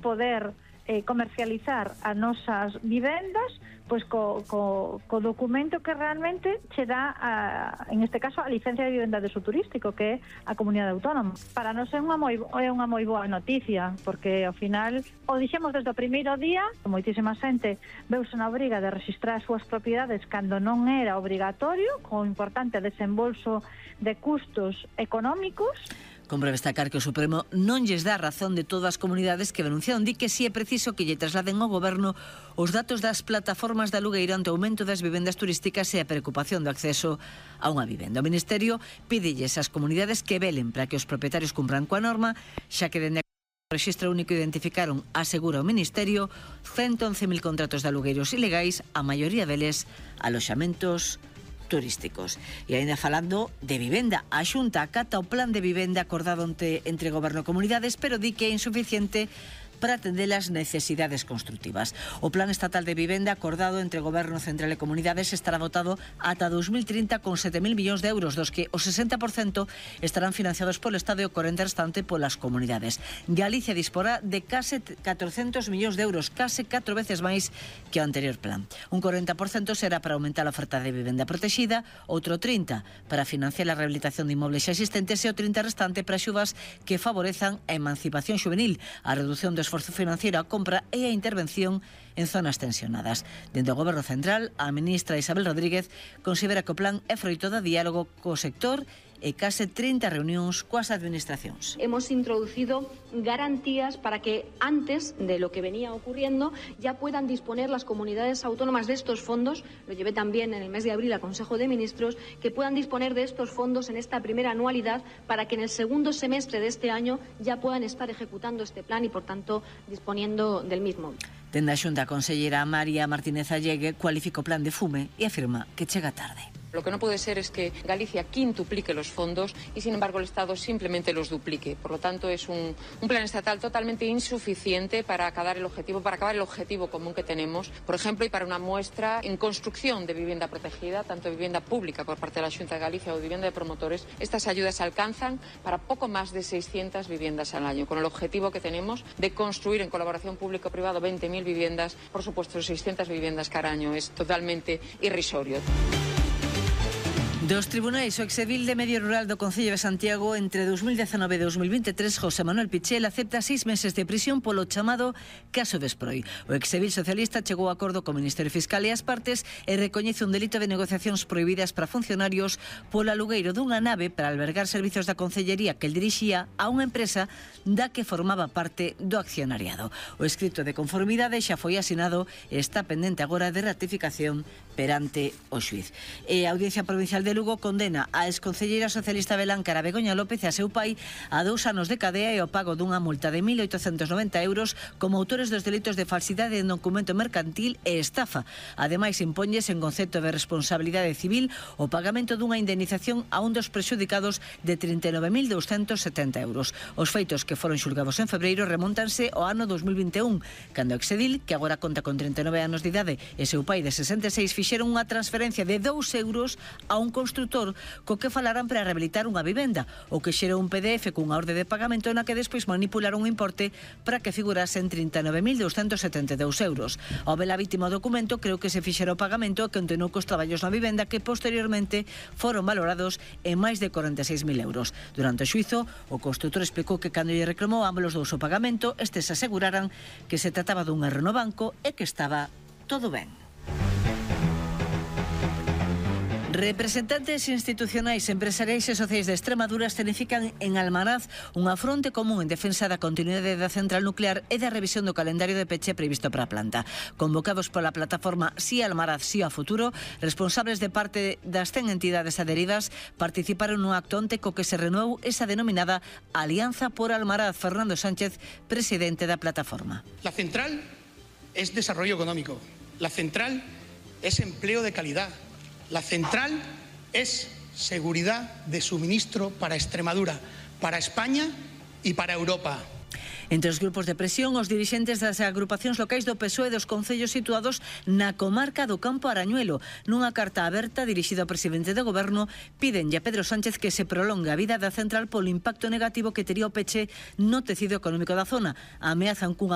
poder comercializar as nosas vivendas pois co documento que realmente che dá en este caso a licencia de vivenda de uso turístico, que é a comunidade autónoma. Para nós é unha moi boa noticia, porque ao final o dixemos desde o primeiro día, moitísima xente veuse na obriga de registrar as súas propiedades cando non era obrigatorio, con importante desembolso de custos económicos. Compre destacar que o Supremo non lles dá razón de todas as comunidades que denunciaron. Di que si é preciso que lle trasladen ao Goberno os datos das plataformas de alugueiro ante o aumento das vivendas turísticas e a preocupación do acceso a unha vivenda. O Ministerio pídelles ás comunidades que velen para que os propietarios cumpran coa norma, xa que dende o Rexistro Único identificaron, asegura o Ministerio, 111.000 contratos de alugueiros ilegais, a maioría deles aloxamentos turísticos. E ainda falando de vivenda, a Xunta acata o plan de vivenda acordado entre Goberno e comunidades, pero di que é insuficiente para atender as necesidades construtivas. O Plan Estatal de Vivenda acordado entre Goberno Central e Comunidades estará votado ata 2030 con 7.000 millóns de euros, dos que o 60% estarán financiados polo Estado e o 40% restante polas comunidades. Galicia disporá de case 400 millóns de euros, case 4 veces máis que o anterior plan. Un 40% será para aumentar a oferta de vivenda protegida, outro 30% para financiar a rehabilitación de inmobles xa existentes e o 30% restante para axudas que favorezan a emancipación juvenil, a reducción do esforzo financiero, a compra e a intervención en zonas tensionadas. Dentro do Goberno Central, a ministra Isabel Rodríguez considera que o plan é froito do diálogo co sector e case 30 reunións coas administracións. Hemos introducido garantías para que antes de lo que venía ocurriendo ya puedan disponer las comunidades autónomas de estos fondos, lo llevé también en el mes de abril al Consejo de Ministros, que puedan disponer de estos fondos en esta primera anualidad para que en el segundo semestre de este año ya puedan estar ejecutando este plan y por tanto disponiendo del mismo. Dende a Xunta, a conselleira María Martínez Allegue cualifica o plan de fume e afirma que chega tarde. Lo que no puede ser es que Galicia quintuplique los fondos y, sin embargo, el Estado simplemente los duplique. Por lo tanto, es un plan estatal totalmente insuficiente para acabar el objetivo común que tenemos, por ejemplo, y para una muestra en construcción de vivienda protegida, tanto vivienda pública por parte de la Xunta de Galicia o vivienda de promotores. Estas ayudas alcanzan para poco más de 600 viviendas al año, con el objetivo que tenemos de construir en colaboración público-privado 20.000 viviendas, por supuesto, 600 viviendas cada año. Es totalmente irrisorio. Dos tribunais, o exedil de Medio Rural do Concello de Santiago entre 2019 e 2023, José Manuel Pichel, acepta 6 meses de prisión polo chamado caso Vesproi. O exedil socialista chegou a acordo co Ministerio Fiscal e as partes e recoñece un delito de negociacións prohibidas para funcionarios polo alugueiro dunha nave para albergar servizos da Concellería que el dirixía a unha empresa da que formaba parte do accionariado. O escrito de conformidade xa foi asinado e está pendente agora de ratificación perante o xuiz. E a Audiencia Provincial de Lugo condena a exconcelleira socialista Beláncara Begoña López e a seu pai a 2 anos de cadea e o pago dunha multa de 1.890 euros como autores dos delitos de falsidade en documento mercantil e estafa. Ademais, impóñes en concepto de responsabilidade civil o pagamento dunha indemnización a un dos prexudicados de 39.270 euros. Os feitos que foron xulgados en febreiro remontanse ao ano 2021, cando o exedil, que agora conta con 39 anos de idade, e seu pai de 66 fixeron unha transferencia de 2 euros a un constructor co que falarán para rehabilitar unha vivenda, o que xerou un PDF cunha orde de pagamento na que despois manipularon un importe para que figurase en 39.272 euros. Ao ver a vítima o documento, creo que se fixera o pagamento e continuou cos traballos na vivenda que posteriormente foron valorados en máis de 46.000 euros. Durante o xuizo, o constructor explicou que cando lle reclamou ambos os dous o pagamento, estes aseguraran que se trataba dun erro no banco e que estaba todo ben. Representantes institucionais, empresariais e sociais de Extremadura escenifican en Almaraz unha fronte común en defensa da continuidade da central nuclear e da revisión do calendario de peche previsto para a planta. Convocados pola plataforma Sí Almaraz, Sí a Futuro, responsables de parte das 100 entidades adheridas participaron nun acto onte co que se renovou esa denominada Alianza por Almaraz. Fernando Sánchez, presidente da plataforma. La central es desarrollo económico, la central es empleo de calidad. La central es seguridad de suministro para Extremadura, para España y para Europa. Entre os grupos de presión, os dirixentes das agrupacións locais do PSOE dos concellos situados na comarca do Campo Arañuelo. Nunha carta aberta dirixida ao presidente do Goberno, pídenlle a Pedro Sánchez que se prolongue a vida da central polo impacto negativo que tería o peche no tecido económico da zona. Ameazan cunha